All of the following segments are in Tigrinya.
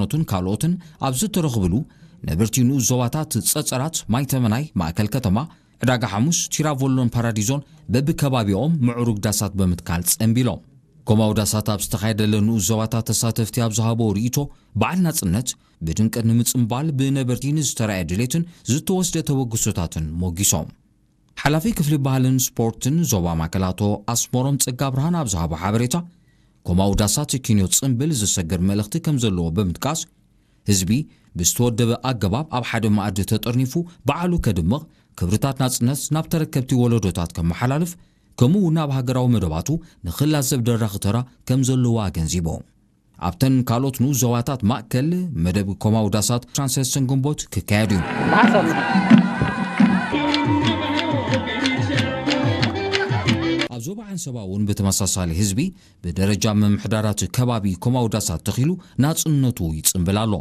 ኖትን ካልኦትን ኣብ ዝተረኽብሉ፣ ነበርቲ ንኡስ ዞባታት ጸጸራት፣ ማይተመናይ፣ ማእከል ከተማ፣ ዕዳጋ ሓሙስ፣ ቲራቮሎን ፓራዲዞን በብከባቢኦም ምዕሩግ ዳሳት ብምትካል ጸንቢሎም። ኮማዊ ዳሳት ኣብ ዝተኻየደለ ንኡስ ዞባታት ተሳተፍቲ ኣብ ዝሃቦ ርእይቶ፣ በዓል ናጽነት ብድምቀት ንምጽንባል ብነበርቲ ንዝተራእየ ድሌትን ዝተወስደ ተበግሶታትን ሞጊሶም። ሓላፊ ክፍሊ ባህልን ስፖርትን ዞባ ማእከል ኣቶ ኣስመሮም ጸጋብርሃን ኣብ ዝሃቦ ሓበሬታ፣ ኮማዊ ዳሳት ኪንዮ ጽንብል ዝሰግር መልእኽቲ ከም ዘለዎ ብምጥቃስ፣ ህዝቢ ብዝተወደበ ኣገባብ ኣብ ሓደ መኣዲ ተጠርኒፉ በዓሉ ከድምቕ፣ ክብርታት ናጽነት ናብ ተረከብቲ ወለዶታት ከመሓላልፍ፣ ከምኡ እውን ኣብ ሃገራዊ መደባቱ ንኽላዘብ ደራኺ ተራ ከም ዘለዎ ኣገንዚቡ። ኣብተን ካልኦት ንኡስ ዞባታት ማእከል መደብ ኮማዊ ዳሳት ዕስራን ሰለስተን ግንቦት ክካየድ እዩ። ኣብ ዞባ ዓንሰባ እውን ብተመሳሳሊ ህዝቢ ብደረጃ ምምሕዳራት ከባቢ ኮማዊ ዳሳት ተኺሉ ናጽነቱ ይጽንብል ኣሎ።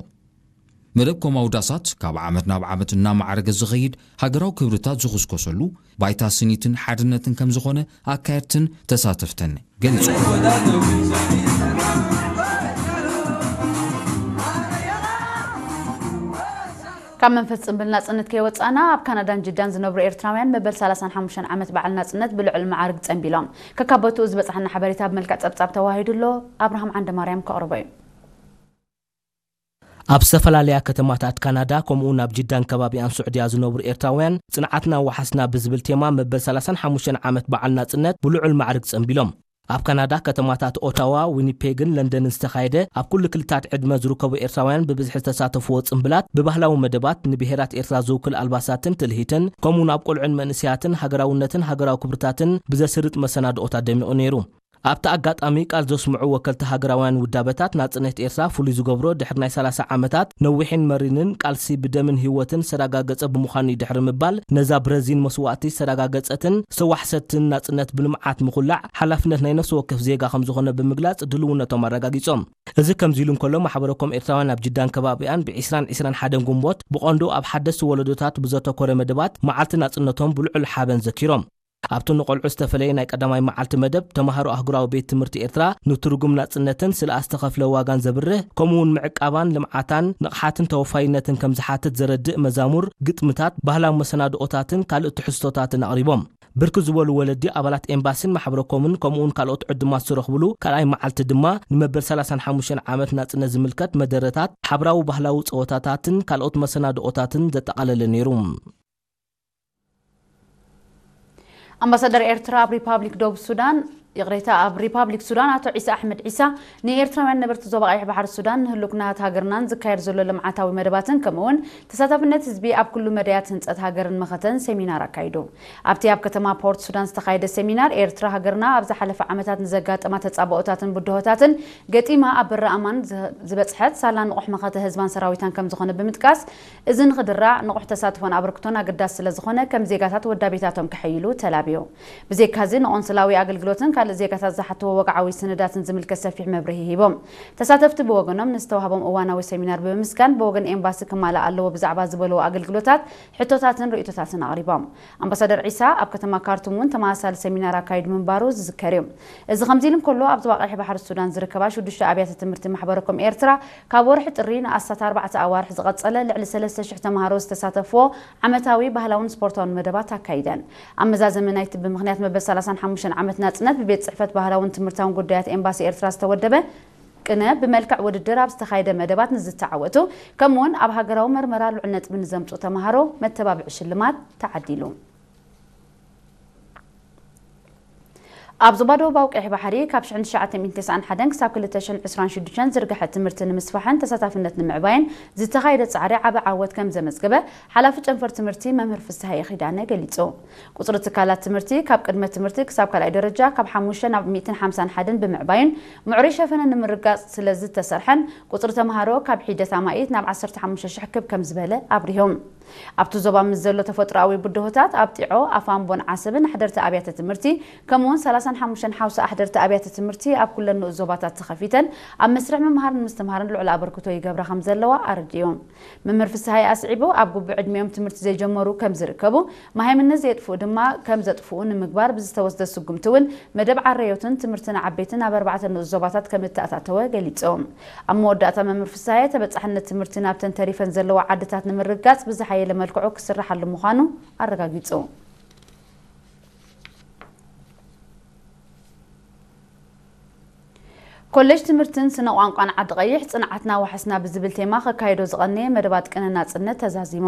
መደብ ኮማዊ ዳሳት ካብ ዓመት ናብ ዓመት እናማዕረገ ዝኸይድ ሃገራዊ ክብርታት ዝኹስኮሰሉ ባይታ ስኒትን ሓድነትን ከም ዝኾነ ኣካየድትን ተሳተፍትን ገሊጾም። ካብ መንፈስ ጽንብል ናጽነት ከይወጻእና፣ ኣብ ካናዳን ጅዳን ዝነብሩ ኤርትራውያን መበል ሰላሳን ሓሙሽተን ዓመት በዓል ናጽነት ብልዑል መዓርግ ጸንቢሎም። ከካብ ቦትኡ ዝበጽሓና ሓበሬታ ብመልክዕ ጸብጻብ ተዋሂዱ ኣሎ። ኣብርሃም ዓንደማርያም ከቕርቦ እዩ። ኣብ ዝተፈላለያ ከተማታት ካናዳ፣ ከምኡ እውን ኣብ ጅዳን ከባቢኣን ስዑድያ ዝነብሩ ኤርትራውያን፣ ጽንዓትና ወሓስና ብዝብል ቴማ መበል ሰላሳን ሓሙሽተን ዓመት በዓል ናጽነት ብልዑል ማዕርግ ጸንቢሎም። ኣብ ካናዳ ከተማታት ኦታዋ፣ ዊኒፔግን ለንደንን ዝተኻየደ፣ ኣብ ኩሉ ክልታት ዕድመ ዝርከቡ ኤርትራውያን ብብዝሒ ዝተሳተፍዎ ጽንብላት፣ ብባህላዊ መደባት፣ ንብሄራት ኤርትራ ዝውክል ኣልባሳትን ትልሂትን፣ ከምኡውን ኣብ ቆልዑን መንእሰያትን ሃገራውነትን ሃገራዊ ክብርታትን ብዘስርጥ መሰናድኦታት ደሚቑ ነይሩ። ኣብቲ ኣጋጣሚ ቃል ዘስምዑ ወከልቲ ሃገራውያን ውዳበታት፣ ናጽነት ኤርትራ ፍሉይ ዝገብሮ፣ ድሕሪ ናይ ሰላሳ ዓመታት ነዊሕን መሪርን ቃልሲ ብደምን ህይወትን ዝተረጋገጸ ብምዃኑ እዩ ድሕሪ ምባል፣ ነዛ ብረዚን መስዋእቲ ዝተረጋገጸትን ዝተዋሕሰትን ናጽነት ብልምዓት ምኹላዕ ሓላፍነት ናይ ነፍሲ ወከፍ ዜጋ ከም ዝኾነ ብምግላጽ ድልውነቶም ኣረጋጊጾም። እዚ ከምዚ ኢሉ እንከሎ፣ ማሕበረ ኮም ኤርትራውያን ኣብ ጅዳን ከባቢኣን ብ ዕስራን ዕስራን ሓደን ግንቦት ብቐንዱ ኣብ ሓደስቲ ወለዶታት ብዘተኮረ መደባት መዓልቲ ናጽነቶም ብልዑል ሓበን ዘኪሮም። ኣብቲ ንቆልዑ ዝተፈለየ ናይ ቀዳማይ መዓልቲ መደብ፣ ተማሃሮ ኣህጉራዊ ቤት ትምህርቲ ኤርትራ ንትርጉም ናጽነትን ስለ ዝተኸፍለ ዋጋን ዘብርህ፣ ከምኡውን ምዕቃባን ልምዓታን ንቕሓትን ተወፋይነትን ከም ዝሓትት ዘረድእ መዛሙር፣ ግጥምታት፣ ባህላዊ መሰናድኦታትን ካልእ ትሕዝቶታትን ኣቕሪቦም። ብርክት ዝበሉ ወለዲ ኣባላት ኤምባሲን ማሕበረ ኮምን ከምኡውን ካልኦት ዕዱማት ዝተረኽብሉ ካልኣይ መዓልቲ ድማ ንመበል ሰላሳን ሓሙሽተን ዓመት ናጽነት ዝምልከት መደረታት፣ ሓብራዊ ባህላዊ ጸወታታትን ካልኦት መሰናድኦታትን ዘጠቓለለ ነይሩ። ኣምባሳደር ኤርትራ ኣብ ሪፓብሊክ ደቡብ ሱዳን፣ ይቕሬታ፣ ኣብ ሪፓብሊክ ሱዳን ኣቶ ዒሳ ኣሕመድ ዒሳ ንኤርትራውያን ነበርቲ ዞባ ቀይሕ ባሕሪ ሱዳን ንህሉክናት ሃገርናን ዝካየድ ዘሎ ልምዓታዊ መደባትን ከምኡውን ተሳታፍነት ህዝቢ ኣብ ኩሉ መዳያት ህንጸት ሃገርን መኸተን ሴሚናር ኣካይዱ። ኣብቲ ኣብ ከተማ ፖርት ሱዳን ዝተኻየደ ሴሚናር፣ ኤርትራ ሃገርና ኣብ ዝሓለፈ ዓመታት ንዘጋጠማ ተጻብኦታትን ብድሆታትን ገጢማ ኣብ በሪ ኣማን ዝ-፣ ዝበጽሐት ሳላ ንቑሕ መኸተ ህዝባን ሰራዊታን ከም ዝኾነ ብምጥቃስ፣ እዚ ንኽድራዕ ንቑሕ ተሳትፎን ኣበርክቶን ኣገዳሲ ስለ ዝኾነ፣ ከም ዜጋታት ወዳቤታቶም ከሐይሉ ተላብዩ። ብዘይካዚ፣ ንቆንስላዊ ኣገልግሎትን ካልእ ዜጋታት ዝሓትዎ ወግዓዊ ስነዳትን ዝምልከት ሰፊሕ መብርሂ ሂቦም። ተሳተፍቲ ብወገኖም፣ ንዝተዋህቦም እዋናዊ ሰሚናር ብምምስጋን፣ ብወገን ኤምባሲ ክማላእ ኣለዎ ብዛዕባ ዝበልዎ ኣገልግሎታት፣ ሕቶታትን ርእይቶታትን ኣቕሪቦም። ኣምባሳደር ዒሳ ኣብ ከተማ ካርቱም እውን ተመሳሳሊ ሰሚናር ኣካይዱ ምንባሩ ዝዝከር እዩ። እዚ ከምዚ ኢሉ እንከሎ፣ ኣብ ዞባ ቀይሕ ባሕሪ ሱዳን ዝርከባ ሽዱሽተ ኣብያተ ትምህርቲ ማሕበረ ኮም ኤርትራ፣ ካብ ወርሒ ጥሪ ንኣስታት ኣርባዕተ ኣዋርሕ ዝቐጸለ ልዕሊ ሰለስተ ሽሕ ተምሃሮ ዝተሳተፍዎ ዓመታዊ ባህላውን ስፖርታውን መደባት ኣካይደን። ኣብ መዛዘሚ ናይቲ ብምኽንያት መበል ሰላሳን ሓሙሽተን ዓመት ናጽነት ብቤት ጽሕፈት ባህላውን ትምህርታውን ጉዳያት ኤምባሲ ኤርትራ ዝተወደበ ቅነ ብመልክዕ ውድድር ኣብ ዝተኻየደ መደባት ንዝተዓወቱ፣ ከምኡውን ኣብ ሃገራዊ መርመራ ልዑል ነጥቢ ንዘምጽኡ ተምሃሮ መተባብዒ ሽልማት ተዓዲሉ። ኣብ ዞባ ደቡባዊ ቀይሕ ባሕሪ ካብ ሽሕን ትሽዓተ ሚእትን ተስዓን ሓደን ክሳብ ክልተ ሽሕን ዕስራን ሽዱሽተን ዝርግሐ ትምህርቲ ንምስፋሕን ተሳታፍነት ንምዕባይን ዝተኻየደ ጻዕሪ ዓቢ ዓወት ከም ዘመዝገበ ሓላፊ ጨንፈር ትምህርቲ መምህር ፍስሃየ ኪዳነ ገሊጹ። ቁጽሪ ትካላት ትምህርቲ ካብ ቅድመ ትምህርቲ ክሳብ ካልኣይ ደረጃ ካብ ሓሙሽተ ናብ ሚእትን ሓምሳን ሓደን ብምዕባይን ምዕሩይ ሸፈነ ንምርጋጽ ስለ ዝተሰርሐን ቁጽሪ ተምሃሮ ካብ ሒደት ኣማኢት ናብ ዓሰርተ ሓሙሽተ ሽሕ ክብ ከም ዝበለ ኣብሪሆም። ኣብቲ ዞባ ምስ ዘሎ ተፈጥሮኣዊ ብድሆታት ኣብ ጢዖ፣ ኣፋምቦን ዓሰብን ኣሕደርቲ ኣብያተ ትምህርቲ ከምኡውን ሰላሳ ሓሙሽተን ሓውሳ ኣሕደርቲ ኣብያተ ትምህርቲ ኣብ ኩለን ንኡስ ዞባታት ተኸፊተን ኣብ መስርሕ ምምሃርን ምስትምሃርን ልዑል ኣበርክቶ ይገብራ ከም ዘለዋ ኣረዲኡ። መምህር ፍስሃየ ኣስዒቡ፣ ኣብ ግቡእ ዕድሚኦም ትምህርቲ ዘይጀመሩ ከም ዝርከቡ፣ መሃይምነት ዘየጥፍኡ ድማ ከም ዘጥፍኡ ንምግባር ብዝተወስደ ስጉምቲ እውን መደብ ዓረዮትን ትምህርቲ ንዓበይትን ኣብ ኣርባዕተ ንኡስ ዞባታት ከም እተኣታተወ ገሊጹ። ኣብ መወዳእታ መምህር ፍስሃየ፣ ተበጻሕነት ትምህርቲ ናብተን ተሪፈን ዘለዋ ዓድታት ንምርግጋጽ ብዝሓየለ መልክዑ ክስራሓሉ ምዃኑ ኣረጋጊጹ። ኮሌጅ ትምህርትን ስነ ቋንቋን ዓዲ ቀይሕ፣ ጽንዓትና ዋሕስና ብዝብል ቴማ ከካይዶ ዝቐነየ መደባት ቅነ ናጽነት ተዛዚሙ።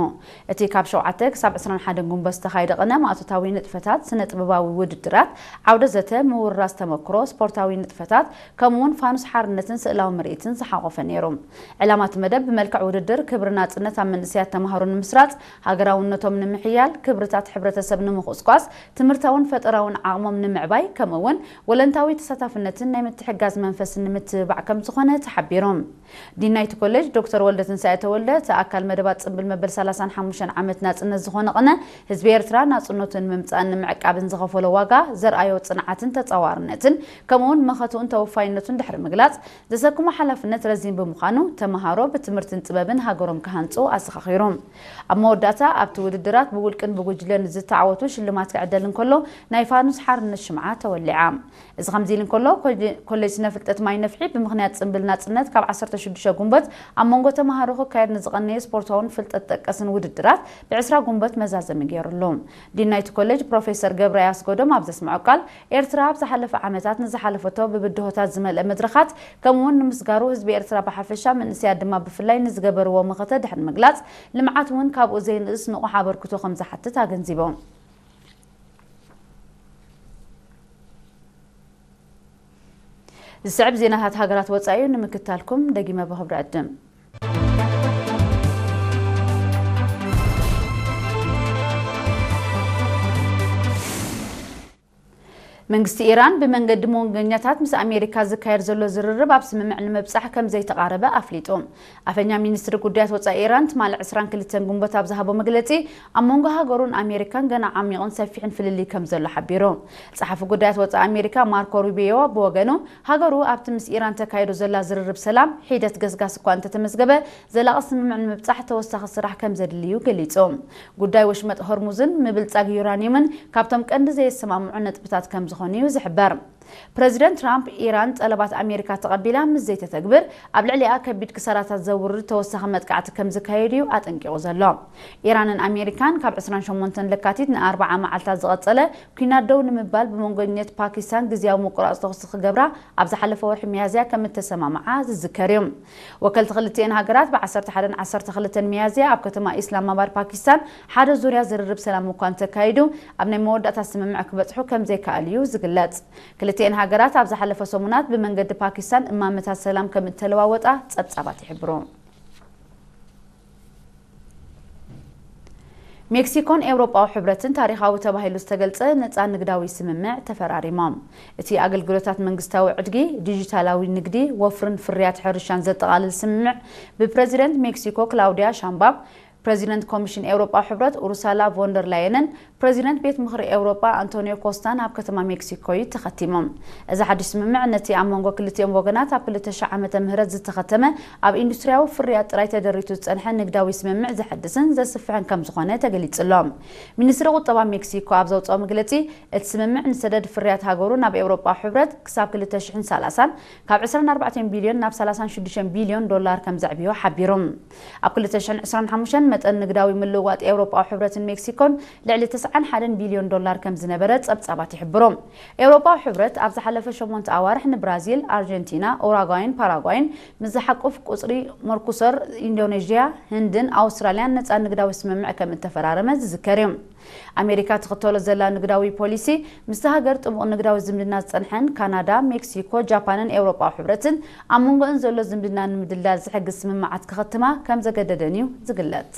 እቲ ካብ ሸውዓተ ክሳብ ዕስራን ሓደን ጉንበት ዝተኻየደ ቅነ ማእቶታዊ ንጥፈታት፣ ስነ ጥበባዊ ውድድራት፣ ዓውደ ዘተ፣ ምውርራስ ተመክሮ፣ ስፖርታዊ ንጥፈታት፣ ከምኡ እውን ፋኑስ ሓርነትን ስእላዊ ምርኢትን ዝሓቖፈ ነይሩ። ዕላማ እቲ መደብ ብመልክዕ ውድድር ክብሪ ናጽነት ኣብ መንእሰያት ተምሃሮ ንምስራጽ፣ ሃገራውነቶም ንምሕያል፣ ክብርታት ሕብረተሰብ ንምኹስኳስ፣ ትምህርታውን ፈጠራውን ዓቕሞም ንምዕባይ፣ ከምኡ እውን ወለንታዊ ተሳታፍነትን ናይ ምትሕጋዝ መንፈስን ንምትብባዕ ከም ዝኾነ ተሓቢሩ። ዲን ናይቲ ኮሌጅ ዶክተር ወልደትንሳኤ ተወልደ፣ እቲ ኣካል መደባት ጽምብል መበል ሰላሳን ሓሙሽተን ዓመት ናጽነት ዝኾነ ቅነ፣ ህዝቢ ኤርትራ ናጽነቱ ንምምጻእን ንምዕቃብን ዝኸፈሎ ዋጋ፣ ዘርኣዮ ጽንዓትን ተጻዋርነትን፣ ከምኡውን መኸትኡን ተወፋይነቱን ድሕሪ ምግላጽ፣ ዘሰክሞ ሓላፍነት ረዚን ብምዃኑ፣ ተመሃሮ ብትምህርትን ጥበብን ሃገሮም ክሃንጹ ኣዘኻኺሩ። ኣብ መወዳእታ፣ ኣብቲ ውድድራት ብውልቅን ብጉጅለን ዝተዓወቱ ሽልማት ክዕደል እንከሎ፣ ናይ ፋኑስ ሓርነት ሽምዓ ተወሊዓ። እዚ ከምዚ ኢሉ እንከሎ፣ ኮሌ-፣ ኮሌጅ ስነ ፍልጠት ማይ ነፍሒ ብምኽንያት ጽምብል ናጽነት ካብ ዓሰርተ ሽዱሽተ ጉንበት ኣብ መንጎ ተመሃሮ ክካየድ ንዝቐነየ ስፖርታውን ፍልጠት ጠቀስን ውድድራት ብዕስራ ጉንበት መዛዘሚ ገይሩሉ። ዲን ናይቲ ኮሌጅ ፕሮፌሰር ገብረ ኣስጎዶም ኣብ ዘስምዖ ቃል፣ ኤርትራ ኣብ ዝሓለፈ ዓመታት ንዝሓለፈቶ ብብድሆታት ዝመልአ መድረኻት፣ ከምኡ'ውን ንምስጋሩ ህዝቢ ኤርትራ ብሓፈሻ፣ መንእሰያት ድማ ብፍላይ ንዝገበርዎ መኸተ ድሕሪ ምግላጽ፣ ልምዓት እውን ካብኡ ዘይንእስ ንቑሕ ኣበርክቶ ከም ዝሓትት ኣገንዚቦም። ዝስዕብ ዜናታት ሃገራት ወጻኢ እዩ፣ ንምክታልኩም ደጊመ ብኽብሪ ዕድም። መንግስቲ ኢራን ብመንገዲ መወንገኛታት ምስ ኣሜሪካ ዝካየድ ዘሎ ዝርርብ ኣብ ስምምዕ ንምብጻሕ ከም ዘይተቓረበ ኣፍሊጡ። ኣፈኛ ሚኒስትሪ ጉዳያት ወጻኢ ኢራን ትማሊ ዕስራን ክልተን ጉንበት ኣብ ዝሃቦ መግለጺ፣ ኣብ መንጎ ሃገሩን ኣሜሪካን ገና ዓሚቑን ሰፊሕን ፍልልይ ከም ዘሎ ሓቢሩ። ጸሓፊ ጉዳያት ወጻኢ ኣሜሪካ ማርኮ ሩቢዮ ብወገኑ፣ ሃገሩ ኣብቲ ምስ ኢራን ተካይዶ ዘላ ዝርርብ ሰላም ሒደት ገስጋስ እኳ እንተተመዝገበ፣ ዘላቒ ስምምዕ ንምብጻሕ ተወሳኺ ስራሕ ከም ዘድልዩ ገሊጹ። ጉዳይ ወሽመጥ ሆርሙዝን ምብልጻግ ዩራኒየምን ካብቶም ቀንዲ ዘየሰማምዑ ነጥብታት ከም ዝኾኑ እዩ ዝሕበር። ፕረዚደንት ትራምፕ፣ ኢራን ጠለባት ኣሜሪካ ተቐቢላ ምስ ዘይተተግብር፣ ኣብ ልዕሊኣ ከቢድ ክሳራታት ዘውርድ ተወሳኺ መጥቃዕቲ ከም ዝካየድ እዩ ኣጠንቂቑ ዘሎ። ኢራንን ኣሜሪካን ካብ ዕስራን ሸሞንተን ለካቲት ንኣርብዓ መዓልታት ዝቐጸለ ኲናት ደው ንምባል ብመንጎኝነት ፓኪስታን ግዝያዊ ምቁራጽ ተኹሲ ክገብራ ኣብ ዝሓለፈ ወርሒ ሚያዝያ ከም እተሰማምዓ ዝዝከር እዩ። ወከልቲ ክልቲኤን ሃገራት ብ ዓሰርተ ሓደን ዓሰርተ ክልተን ሚያዝያ ኣብ ከተማ ኢስላማባድ ፓኪስታን ሓደ ዙርያ ዝርርብ ሰላም እኳ እንተካይዱ፣ ኣብ ናይ መወዳእታ ስምምዕ ክበጽሑ ከም ዘይከኣሉ እዩ ዝግለጽ። ክልቲኤን ሃገራት ኣብ ዝሓለፈ ሰሙናት ብመንገዲ ፓኪስታን እማመታት ሰላም ከም እተለዋወጣ ጸብጻባት ይሕብሩ። ሜክሲኮን ኤውሮጳዊ ሕብረትን ታሪኻዊ ተባሂሉ ዝተገልጸ ነጻ ንግዳዊ ስምምዕ ተፈራሪሞም። እቲ ኣገልግሎታት መንግስታዊ ዕድጊ፣ ዲጂታላዊ ንግዲ፣ ወፍርን ፍርያት ሕርሻን ዘጠቓልል ስምምዕ ብፕረዚደንት ሜክሲኮ ክላውዲያ ሻምባም፣ ፕረዚደንት ኮሚሽን ኤውሮጳዊ ሕብረት ኡርሳላ ቮንደር ላየንን ፕረዚደንት ቤት ምኽሪ ኤውሮጳ ኣንቶኒዮ ኮስታን ኣብ ከተማ ሜክሲኮ እዩ ተኸቲሞም። እዚ ሓድሽ ስምምዕ ነቲ ኣብ መንጎ ክልቲኦም ወገናት ኣብ ክልተ ሽሕ ዓመተ ምህረት ዝተኸተመ፣ ኣብ ኢንዱስትሪያዊ ፍርያት ጥራይ ተደሪቱ ዝጸንሐ ንግዳዊ ስምምዕ ዘሐድስን ዘስፍሕን ከም ዝኾነ ተገሊጹ ኣሎ። ሚኒስትሪ ቁጠባ ሜክሲኮ ኣብ ዘውጽኦ መግለጺ፣ እቲ ስምምዕ ንሰደድ ፍርያት ሃገሩ ናብ ኤውሮጳዊ ሕብረት ክሳብ ክልተ ሽሕን ሰላሳን ካብ ዕስራን ኣርባዕተን ቢልዮን ናብ ሰላሳን ሽዱሽተን ቢልዮን ዶላር ከም ዘዕብዮ ሓቢሩ። ኣብ ክልተ ሽሕን ዕስራን ሓሙሽተን መጠን ንግዳዊ ምልውዋጥ ኤውሮጳዊ ሕብረትን ሜክሲኮን ልዕሊ ተስዓን ሓደን ቢልዮን ዶላር ከም ዝነበረ ጸብጻባት ይሕብሩ። ኤውሮጳዊ ሕብረት ኣብ ዝሓለፈ ሸሞንተ ኣዋርሕ ንብራዚል፣ ኣርጀንቲና፣ ኡራጓይን ፓራጓይን ምስ ዝሓቁፍ ቁጽሪ መርኮሱር፣ ኢንዶኔዥያ፣ ህንድን ኣውስትራልያን ነጻ ንግዳዊ ስምምዕ ከም እተፈራረመ ዝዝከር እዩ። ኣሜሪካ ትኽተሎ ዘላ ንግዳዊ ፖሊሲ፣ ምስቲ ሃገር ጥቡቕ ንግዳዊ ዝምድና ዝጸንሐን ካናዳ፣ ሜክሲኮ፣ ጃፓንን ኤውሮጳዊ ሕብረትን ኣብ መንጎአን ዘሎ ዝምድና ንምድልዳል ዝሕግዝ ስምምዓት ክኸትማ ከም ዘገደደን እዩ ዝግለጽ።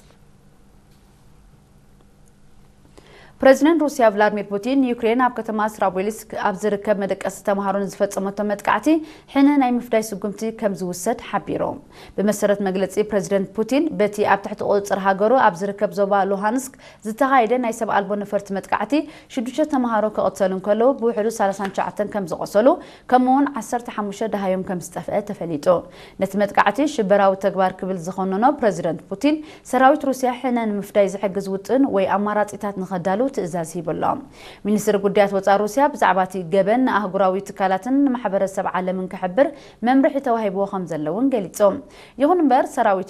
ፕረዚደንት ሩስያ ቭላድሚር ፑቲን፣ ዩክሬን ኣብ ከተማ ስራቦሊስክ ኣብ ዝርከብ መደቀሲ ተምሃሮ ንዝፈጸመቶ መጥቃዕቲ ሕነ ናይ ምፍዳይ ስጉምቲ ከም ዝውሰድ ሓቢሩ። ብመሰረት መግለጺ ፕረዚደንት ፑቲን፣ በቲ ኣብ ትሕቲ ቁጽጽር ሃገሩ ኣብ ዝርከብ ዞባ ሉሃንስክ ዝተኻየደ ናይ ሰብ ኣልቦ ነፈርቲ መጥቃዕቲ ሽዱሽተ ተምሃሮ ክቕተሉ እንከለዉ፣ ብውሕዱ ሰላሳን ትሽዓተን ከም ዝቖሰሉ፣ ከምኡውን ዓሰርተ ሓሙሽተ ደሃዮም ከም ዝጠፍአ ተፈሊጡ። ነቲ መጥቃዕቲ ሽበራዊ ተግባር ክብል ዝኾነኖ ፕረዚደንት ፑቲን፣ ሰራዊት ሩስያ ሕነ ንምፍዳይ ዝሕግዝ ውጥን ወይ ኣማራጺታት ንኸዳሉ ትእዛዝ ሂቡ ኣሎ። ሚኒስትሪ ጉዳያት ወጻኢ ሩስያ ብዛዕባ እቲ ገበን ንኣህጉራዊ ትካላትን ንማሕበረሰብ ዓለምን ክሕብር መምርሒ ተዋሂብዎ ከም ዘለውን ገሊጹ። ይኹን እምበር፣ ሰራዊት